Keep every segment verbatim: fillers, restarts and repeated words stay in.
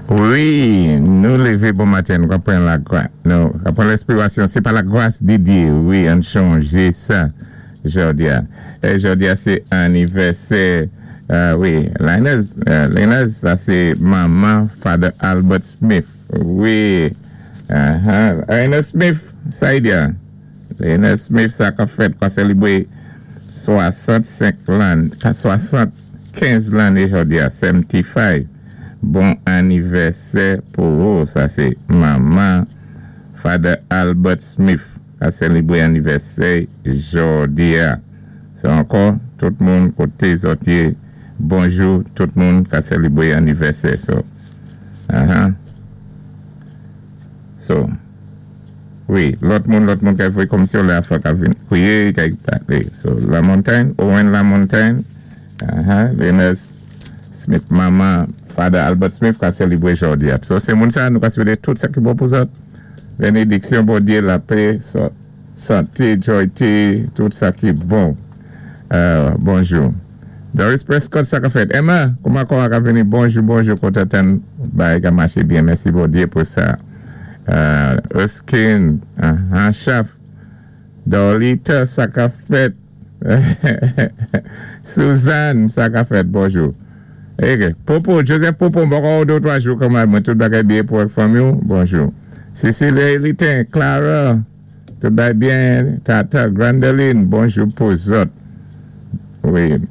Wi, nou lévé bon maten, nou ka pran la nou ka pran lenspirasyon, sé pa la gras di Dye, wi, ann chanjé sa, jòdi-a. É jòdi-a sé anivèsè, euh, wi, Linus, euh, Linus, sa sé manman Father Albert Smith, wi, uh-huh. Linus Smith, sa i di-a, Linus Smith, sa ka fèt, ka sélibwé swasannsenk lann, swasannkenz lanné jòdi-a, seventy-five. Bon anivèsè pou ou, sa sé manman Father Albert Smith ka sélibwé anivèsè jòdi-a. Sé ankò, tout moun koté zòt yé, bonjou, tout moun ka sélibwé anivèsè. So, uh-huh. So, wi, lòt moun, lòt moun ka fè kòm si la fwa ka vin kwiyé, ka palé. So, La Montagne, Owen La Montagne, uh-huh, Linus Smith, manman Father Albert Smith ka sélibwé jòdi-a. So, sé moun sa, nou ka swété tout sa ki bon pou zòt. Bénédiksyon Bondye, lapè, so, santé, joyté, tout sa ki bon. Euh, bonjou. Doris Prescott, sa ka fèt. Emma, kouman kouman ka vini? Bonjou, bonjou, kontan tann, bagay ka maché byen. Mèsi Bondye pou sa. Euh, Erskine, uh, Chaf. Dorlita, sa ka fèt. Suzanne, sa ka fèt, bonjou. Ok, Popo, Joseph Popo, bon, de twa jou kanmenm, mwen, tout bagay byen pou fanmi, bonjou. Cecilia Elitin, Clara, tout bagay byen, Tata, Grandeline, bonjou pou zòt. Wi.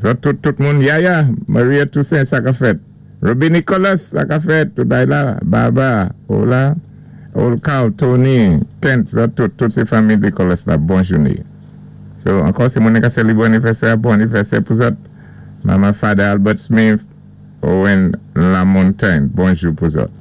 Zòt, tout, tout moun, Yaya, Maria Toussaint, sa ka fèt. Ruby Nicholas, sa ka fèt, tout bagay la, Baba, hola, Olka, Tony, Kent, zòt, tout, tout sé fanmi Nicholas la, bon jouné. So, ankò, sé moun ki sélibwé anivèsè, bon anivèsè pou zòt. Manman Father Albert Smith, Owen La Montagne, bonjou pou zòt.